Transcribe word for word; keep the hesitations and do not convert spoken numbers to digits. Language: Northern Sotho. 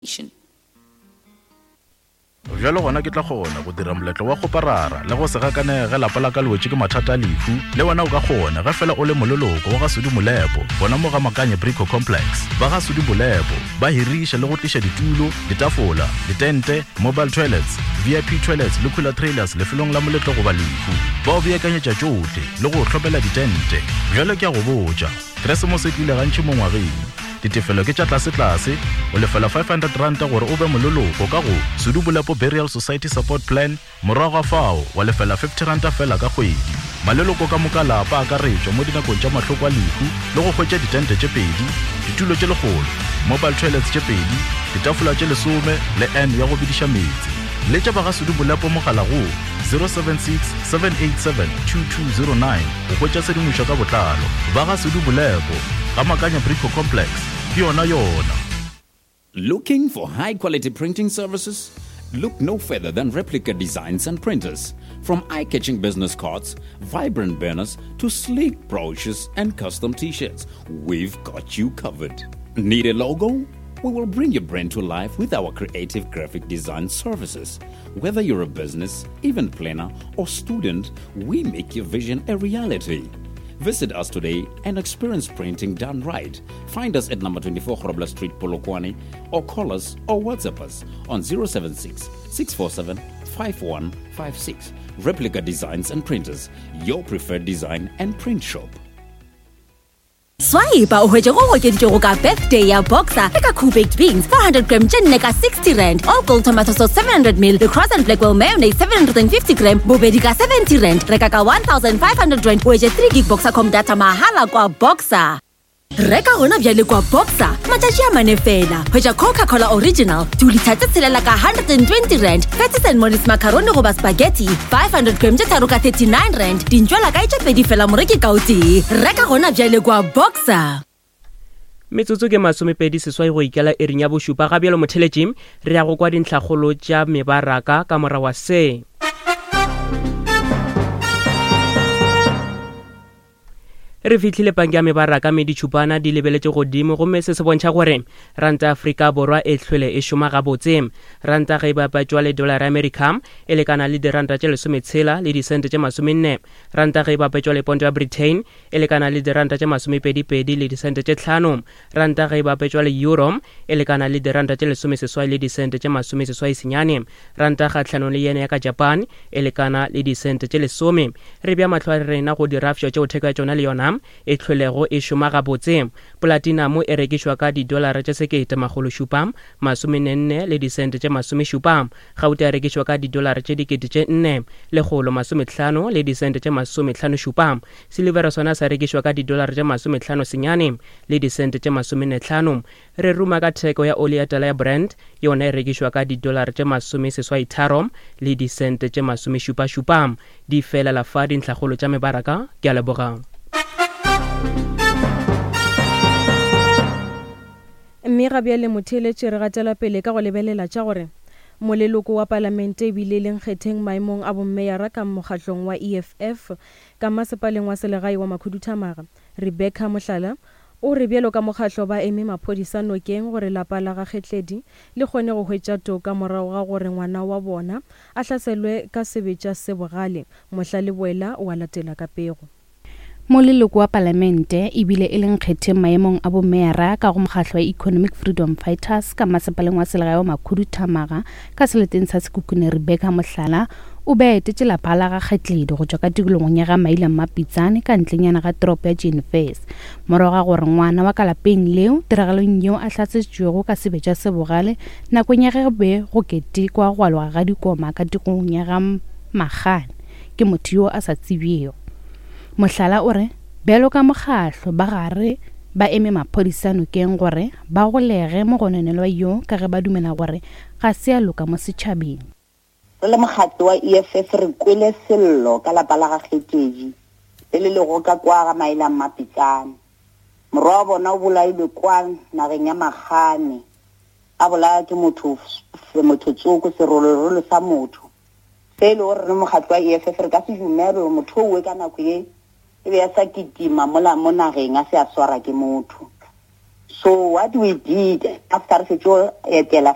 Bjalo gona ke tla kgona go dira moletlo wa kgoparara le go se gakanege lapa la ka le wetše ke mathata a lehu. Le wena o ka kgona ge fela o le moleloko wa ga Sudi Molepo gona mo ga Makanye Brico Complex. Ba ga Sudi Molepo ba hiriša le go tliša ditulo, ditafola, ditente, mobile toilets, V I P toilets le cooler trailers lefelong la moletlo goba lehu. Ba o beakanyetša tšohle le go o hlomela ditente. Bjalo ke a go botša, Keresemose e tlile gantši mo ngwageng. Ditefelo ke tša tlase-tlase, o lefela five hundred ranta gore o be moleloko ka go Sudi Molepo Burial Society Support Plan, morago ga fao wa lefela fifty ranta fela ka kgwedi. Maleloko ka moka lapa a akaretšwa mo dinakong tša mahloko a lehu le go hwetša ditente tše pedi, ditulo tše lekgolo, mobile toilets tše pedi, ditafola tše lesome le N ya go bediša meetse. Letša ba ga Sudi Molepo mogala go zero seven six, seven eight seven, two two zero nine go hwetša tshedimošo ka botlalo. Ba ga Sudi Molepo, ga Makanya Brico Complex, ke yona yona. Looking for high quality printing services? Look no further than Replica Designs and Printers. From eye-catching business cards, vibrant banners, to sleek brochures and custom t-shirts, we've got you covered. Need a logo? We will bring your brand to life with our creative graphic design services. Whether you're a business, event planner, or student, we make your vision a reality. Visit us today and experience printing done right. Find us at number twenty-four Grobler Street, Polokwane, or call us or WhatsApp us on zero seven six, six four seven, five one five six. Replica Designs and Printers, your preferred design and print shop. Swipe o hwetše go okeditšwego ka birthday ya Boxer le ka Cool Baked Beans four hundred gram tše nne ka sixty rand, All Gold Tomato Sauce seven hundred mil le Cross and Blackwell Mayonnaise seven hundred and fifty gram bobedi ka seventy rand. Reka ka one thousand five hundred rand o hwetše three gig Boxer com data mahala kwa Boxer. Reka gona bjale kwa Boxer matšatši a mane fela. Hwetša Coca-Cola Original two litre tse tshelela ka hundred and twenty rand, Patties and Molly's macaroni goba spaghetti five hundred gram tše tharo ka thirty-nine rand, dintšwela kae tše pedi fela moreki ka o tee. Reka gona bjale kwa Boxer. Metsotso ke masomepedi seswai go ikela ering ya bošupa. Ga bjalo motheletši, re ya go kwa dintlhakgolo tša mebaraka ka morago wa se. Re fihlile panke ya mebaraka mme ditšhupana di lebeletše godimo, gomme se se bontšha gore ranta ya Afrika Borwa e hlwele e šoma gabotse. Ranta ge e bapatšwa le dollar ya America e lekana le diranta tše lesometshela le disente tše masomenne. Ranta ge e bapatšwa le ponto ya Britain e lekana le diranta tše masomepedipedi le disente tše tlhano. Ranta ge e bapatšwa le euro e lekana le diranta tše lesomeseswai le disente tše masomeseswai senyane. Ranta kgahlanong le yene ya ka Japan e lekana le disente tše lesome. Re bea mahlo a rena go dirafša tšeo theko ya tšona le yona e hlwelego e šoma gabotse. Platinum e rekišwa ka didolara tše sekete makgolo šupa masomenne le disente tše masomešupa. Gauta e rekišwa ka didolara tše dikete tše nne lekgolo masomehlano le disente tše masomehlano šupa. Silivera sona sa rekišwa ka didolara tše masomehlano senyane le disente tše masomenne hlano. Re ruma ka theko ya oli ya tala ya Brent, yona e rekišwa ka didolara tše masomeseswai tharo le disente tše masomešupašupa. Di felela fa dintlhakgolo tša mebaraka. Ke a leboga. Mme ga bjale motheeletši re gatela pele ka go lebelela tša gore moleloko wa palamente ebile le nkgetheng maemong a bommeyara ka mokgatlong wa E F F ka masepaleng wa selegae wa Makhuduthamaga, Rebecca Mohlala o re bjalo ka mokgatlo ba eme maphodisa nokeng gore lapa la ga Kgetledi le kgone go hwetša toka morago ga gore ngwana wa bona a hlaselwe ka sebetša se bogale. Mohla le boela wa latela ka pego. Moleloko wa palamente ebile e le nkgetheng maemong a bomeyara ka go mokgatlo wa Economic Freedom Fighters ka masepaleng wa selegae wa Makhuduthamaga ka seleteng sa Sekhukhune, Rebecca Mohlala o be a etetše lapa la ga Kgetledi go tšwa ka tikologong ya ga Maila Mmapitsane ka ntlenyana ga toropo ya Jenfes. Morago ga gore ngwana wa ka lapeng leo tiragalong yeo a hlasetšwego ka sebetša se bogale nakong ya ge be go ketekwa go aloga ga dikoma ka tikologong ya ga Magane ke motho yo a sa tsebjego. Mohlala o re bjalo ka mokgatlo ba gare ba eme maphodisa nokeng gore ba golege mogononelwa yo ka ge ba dumela gore ga se a loka mo setšhabeng. Re le mokgatlo wa E F F re kwele sello ka lapa la ga Kgetledi le le lego ka kwa ga Maila Mmapitsane. Morwa wa bona o bolailwe kwa nageng ya Magane, a bolaya ke motho, motho tsoko, serolorolo sa motho. Se e le gore re mokgatlo wa E F F re ka se dumele gore motho owe ka nako ye e be a sa kitima mola mo nageng a se a swara ke motho. So what we did after re fetše go etela